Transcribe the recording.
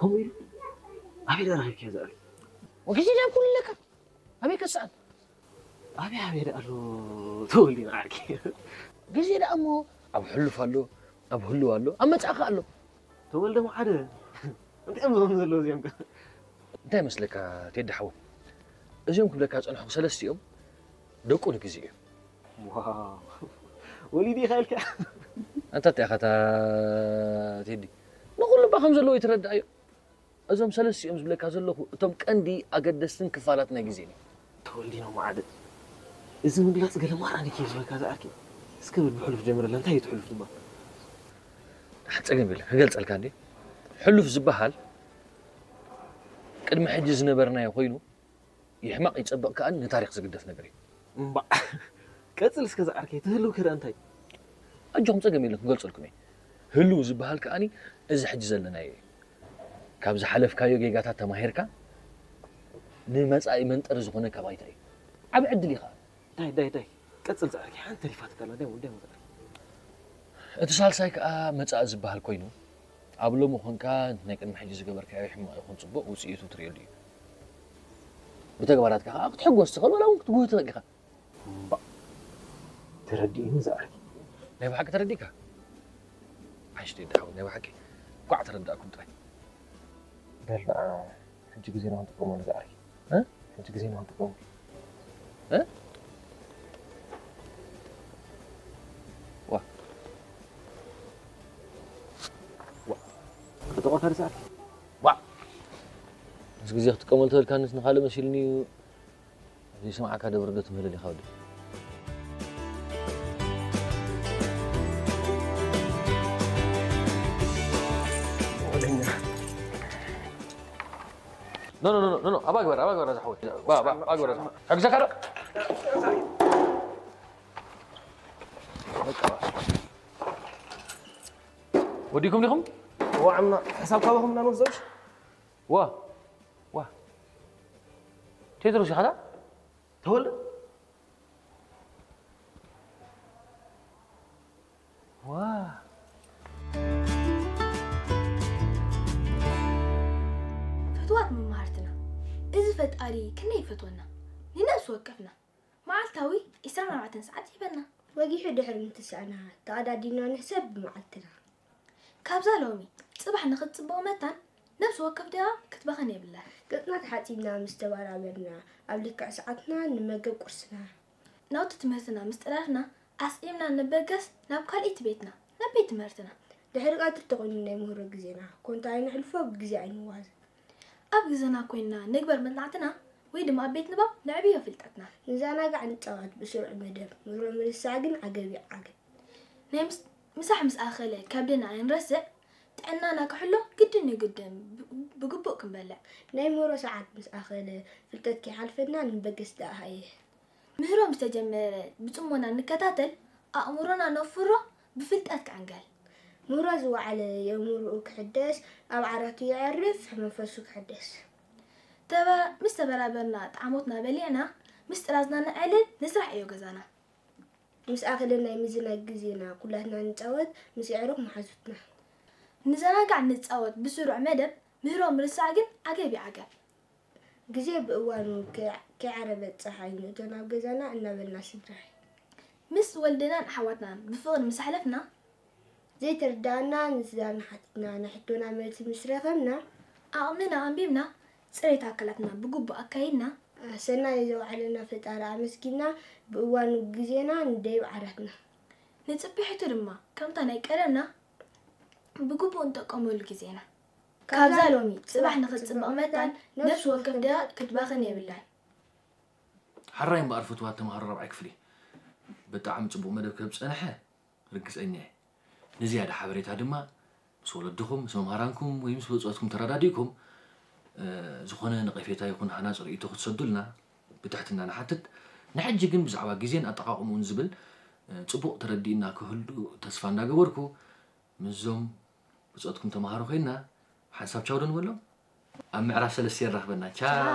ከምኡ ኢሉ ኣበይ ደኣ ረኺብካዮ ዝኣል? ወግዜ ደኣ ኩሉ ኣለካ። ኣበይ ከስኣል? ኣበይ ኣበይ ደኣ ኣሎ? ተወልዲና ዓርኪ። ግዜ ደኣ እሞ ኣብ ሕሉፍ ኣሎ፣ ኣብ ህልው ኣሎ፣ ኣብ መጻእካ ኣሎ። ተወልደ መዓደ። እንታይ እዮም ዝኾኑ ዘለዉ እዚኦም ከ? እንታይ መስለካ ቴዲ ሓወይ? እዚኦም ክብለካ ዝጸንሕኩ ሰለስቲኦም ደቁ ንግዜ እዮም። ዋው። ወሊዱ ኢኻ ኢልካ? ኣንታ እንታይ ኢኻ እታ ቴዲ? ንኹሉ እባ ከም ዘለዎ ይትረዳእዮ። እዞም ሰለስቲኦም ዝብለካ ዘለኹ እቶም ቀንዲ ኣገደስትን ክፋላት ናይ ግዜን እዮም። ተወልዲኖ መዓደ። እዚ ምግላጽ ገለ ማራ ንኪ ዝበካ ዝኣርኪ። እስከ በል ብሕሉፍ ጀምረላ፣ እንታይ እዩ እቲ ሕሉፍ ድማ? ደሓን ጸገም የለን፣ ክገልጸልካ እንዴ። ሕሉፍ ዝበሃል ቅድሚ ሕጂ ዝነበርናዮ ኮይኑ፣ ይሕማቕ ይጸብቕ ከኣ ንታሪኽ ዝግደፍ ነገር እዩ። እምባእ። ቀጽል እስከ ዝኣርከይ፣ ትህልው ከ ደኣ እንታይ? ኣጆኹም ጸገም የለን፣ ክገልጸልኩም እየ። ህልው ዝበሃል ከኣ እዚ ሕጂ ዘለናዮ እዩ። ካብ ዝሓለፍካዮ ጌጋታት ተማሂርካ ንመጻኢ መንጠሪ ዝኾነካ ባይታ እዩ። ዓቢ ዕድል እዩ ከኣ። ዳይ፣ ዳይ፣ ዳይ። ቀጽል ዝኣርከይ፣ ሓንቲ ተሪፋትካ ኣላ፣ ዳይ፣ ዳይ፣ ዳይ። እቲ ሳልሳይ ከኣ መጻኢ ዝበሃል ኮይኑ፣ ኣብ ሎሚ ኾንካ ናይ ቅድሚ ሕጂ ዝገበርካዮ ሕማቕ ይኹን ጽቡቕ ውጽኢቱ ትርእየሉ እዩ። ብተግባራትካ ከኣ ክትሕጎስ ትኽእል፣ ዋላ እውን ክትጉህ ትኽእል ኢኻ። እምባእ፣ ተረዲእኒ ዝኣርኪ። ናይ ብሓቂ ተረዲእካ? ሓሽቲ ደሓው፣ ናይ ብሓቂ። እንኳዕ ተረዳእኩም ጥራይ። በል ንዓ፣ ሕጂ ግዜና ክንጥቀመሉ ዝኣርኪ። እ? ሕጂ ግዜና ክንጥቀመሉ። እ? ዋ። ዋ። ክጠቆካ ዝኣርኪ። ዋ። ምስ ግዜ ክትጥቀመሉ ተበልካንስ ንኻልእ መሲልኒ እዩ። ዘይሰምዓካ ደብር ዶ ትምህለል ኢኻ ወዲ? ኖ፣ ኖ፣ ኖ፣ ኖ፣ ኖ፣ ኣባ ግበር፣ ኣባ ግበር፣ ኣዛ ሓወይ። ባ፣ ባ፣ ኣባ ግበር፣ ኣዛ ሓወይ። ሕግዘካ ዶ? በቃ፣ ባ። ወዲኩም ዲኹም? እዋ፣ ዕማ፣ ሕሳብ ካባኹም እናንወስዶሽ? ዋ፣ ዋ። ቴድሮስ ኢኻ ዳ? ተወልደ? ዋ። ፍትዋት መማህርትና፣ እዚ ፈጣሪ ክንደይ ይፈትወና። ንነብሲ ወከፍና መዓልታዊ ዒስራን ኣርባዕተን ሰዓት ይህበና። ወጊሑ ድሕሪ ምትሳእና፣ ተቐዳዲምና ንሕሰብ ብመዓልትና። ካብዛ ሎሚ፣ ጽባሕ ንኽትጽብቕ መታን፣ ነብሲ ወከፍ ደኣ ክትባኽን የብላን። ገጽና ተሓጺብና ምስ ተባራበርና፣ ኣብ ልክዕ ሰዓትና ንመገብ ቁርስና። ናውቲ ትምህርትና ምስ ጠራርና፣ ኣስዒምና ንበገስ ናብ ካልኣይቲ ቤትና፣ ናብ ቤት ትምህርትና። ድሕሪ ቀትሪ ተኾይኑ ናይ ምህሮ ግዜና፣ ኮንታ ኣይነሕልፎ ብግዜ ኣይንዋዝ። ኣብ ግዘና ኮይንና ንግበር መጽናዕትና ወይ ድማ ኣብ ቤት ንባብ ነዕብዮ ፍልጠትና። ንዘናጋዕ ንጻወት ብስሩዕ መደብ፣ ምህሮ ምርሳዕ ግን ዓገብ እዩ ዓገብ። ናይ ምስ-፣ ምሳሕ ምስ ኣኸለ ከብድና ኣይንረስዕ፣ ጥዕናና ክሕሎ ግድን እዩ ግድን ብ-፣ ብግቡእ ክንበልዕ። ናይ ምህሮ ሰዓት ምስ ኣኸለ ፍልጠት ከይሓልፈና ንበገስ ደኣ ሃየ። ምህሮ ምስ ተጀመረ ብጽሞና ንከታተል፣ ኣእምሮና ነፍሮ ብፍልጠት ክዕንገል። ምህሮ ዝወዓለ የእምሮኡ ክሕደስ፣ ኣብ ዓራቱ የዕርፍ መንፈሱ ክሕደስ። ተበ-፣ ምስ ተበራበርና ጣዕሞትና በሊዕና፣ ምስ ጥራዝና ነዕልል ንስራሕ ዕዮ ገዛና። ምስ ኣኸለ ናይ ምዝናግ ግዜና ኩላትና ንጻወት ምስ የዕሩኽ መሓዙትና። ንዘናጋዕ ንጻወት ብስሩዕ መደብ፣ ምህሮ ምርሳዕ ግን ዓገብ እዩ ዓገብ። ግዜ ብእዋኑ ከይ-፣ ከይዓረበት ጸሓይ ንእቶ ናብ ገዛና እናበልና ስድራይ። ምስ ወልድናን ኣሕዋትናን ብፍቕሪ ምስ ኣሕለፍና። ዘይተረዳእና ንስድራና ሓቲትና ናይ ሕቶና መልሲ ምስ ረኸብና። ዓቕምና ኣንቢብና፣ ጽሬት ኣካላትና ብግቡእ ኣካይድና። ሰናይ ዘውዓለና ፈጣሪ ኣመስጊና ብእዋኑ ግዜና ንደይብ ዓራትና። ንጽብሒቱ ድማ ከምታ ናይ ቀደምና ብግቡእ ንጥቀመሉ ግዜና። ካብዛ ሎሚ ጽባሕ ንኽትጽብቕ መታን ነፍሲ ወከፍ ደኣ ክትባኽን የብላን። ሓራይ እምበኣር ፍትዋት ተምሃሮ ራብዓይ ክፍሊ፣ ብጣዕሚ ጽቡቕ መደብ ከም ዝጸንሐ ርግጸኛ እየ። ንዝያዳ ሓበሬታ ድማ ምስ ወለድኹም፣ ምስ መምሃራንኩም ወይ ምስ ብጾትኩም ተረዳዲእኩም፣ እ፣ ዝኾነ ነቐፌታ ይኹን ሃናጺ ርእይቶ ክትሰዱልና ብትሕትና ንሓትት። ንሕጂ ግን ብዛዕባ ግዜን ኣጠቓቕምኡን ዝብል፣ እ፣ ጽቡቕ ተረዲእና ክህሉ ተስፋ እንዳገበርኩ፣ ምስዞም ብጾትኩም ተምሃሮ ኮይንና ሓንሳብ ቻው ዶ ንበሎም? ኣብ ምዕራፍ ሰለስተ የራኽበና። ቻው።